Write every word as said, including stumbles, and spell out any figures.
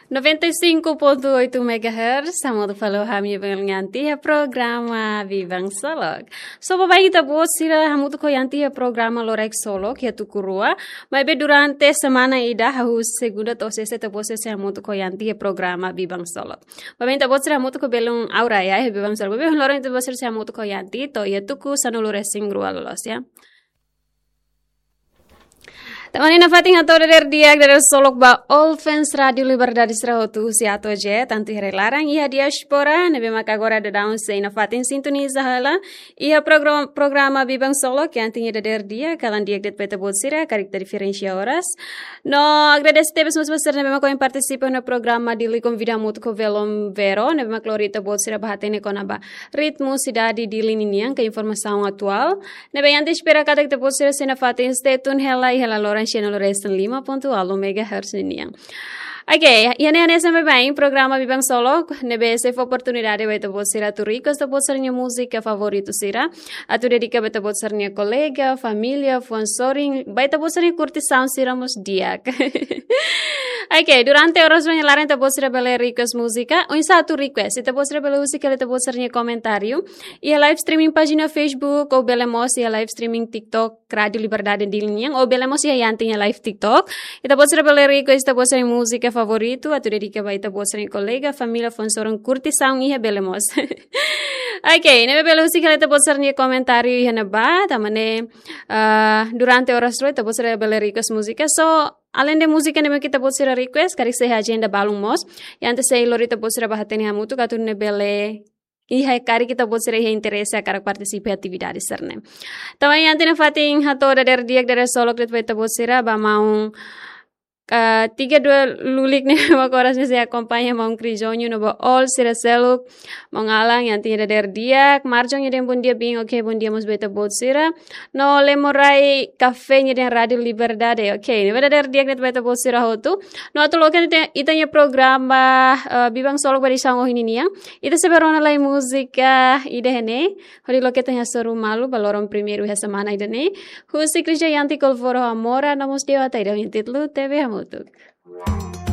Noventa e cinco ponto oito megahertz, hamutuk fali ho ami Belun Yanti iha programa Biban Solok. So, baibain ita-boot sira hamutuk ho Yanti iha programa Loraik Solok iha tuku rua. Maibé durante semana ida, hahú segunda to'o sesta ita-boot sira sei hamutuk ho Yanti iha programa Biban Solok. Baibain ita-boot sira hamutuk ho Belun Aura ya, iha Biban Solok. Maibé loron ita-boot sira sei hamutuk ho Yanti to'o iha tuku sanulu-resin-rua loloos ya. Tan ne'e nafatin hato'o dadeer di'ak, dadeer solok ba all fans Rádio Liberdade sira hotu husi A to'o Z, tantu iha rai-laran, iha diáspora, ne'ebé maka agora daudaun sei nafatin sintoniza hela iha program-, programa Biban Solok, Yanti nia dadeer di'ak, kalan di'ak de'it ba ita-boot sira, karik ita diferensia oras. No agradese tebes mós ba sira ne'ebé maka ohin partisipa iha programa Dili Konvida hamutuk ho Velon Vero, ne'ebé maka lori ita-boot sira bá hatene kona-ba ritmu sidade Dili ninian, ka informasaun atuál. Ne'ebé Yanti espera katak ita-boot sira sei nafatin stay tune hela iha la loran sanulu-resin-lima ponto ualu megahertz ninian. Oke, iha ne'e hanesan baibain programa Biban Solok, ne'ebé sei fó oportunidade ba ita-boot sira atu request ita-boot sira-nia múzika favoritu sira, atu dedika ba ita-boot sira-nia kolega, família, fuan-sorin, ba ita-boot sira-nia kurtisaun sira mós di'ak. Oke, durante oras rua nia laran ita-boot sira bele request múzika, oinsá atu request, ita-boot sira bele husik hela ita-boot sira-nia komentáriu iha live streaming pájina Facebook, ou bele mós iha live streaming TikTok, Rádio Liberdade Dili nian, ou bele mós iha Yanti nia live TikTok. Ita-boot sira bele request ita-boot sira-nia múzika favoritu, atu dedika ba ita-boot sira-nia kolega, família, fuan-sorin, kurtisaun iha bele mós. Oke, ne'ebé bele husik hela ita-boot sira-nia komentáriu iha ne'ebá, tanba ne'e, ah, durante oras rua ita-boot sira bele request múzika. So, além de múzika ne'ebé ita-boot sira request, karik sei iha ajenda balun mós, Yanti sei lori ita-boot sira bá hatene hamutuk atu nune'e bele iha karik ita-boot sira iha interese hakarak partisipa iha atividade sira-ne'e. Tan ne'e Yanti nafatin hato'o dadeer di'ak, dadeer solok de'it ba ita-boot sira, ba maun, ah, tiga dua lulik ne'e maka oras ne'e sei akompaña, maun Krijonyu no ba all sira seluk, maun Alan, Yanti nia dadeer di'ak, Marjon nia dehan bondia biin, oke, bondia mós ba ita-boot sira. No Lemorai Café nia dehan Rádio Liberdade. Oke, ne'e dadeer di'ak de'it ba ita-boot sira hotu. No atu loke ita, ita-nia programa, eh, Biban Solok ba edisaun ohin ninian. Ita sei bá rona lai múzika ida-ne'e, hodi loke ita-nia hasoru malu ba loron primeiru iha semana ida-ne'e. Husi Krija Yanti Kolvoro Amora, no mós Dewata ida ho títulu T V Hamutuk.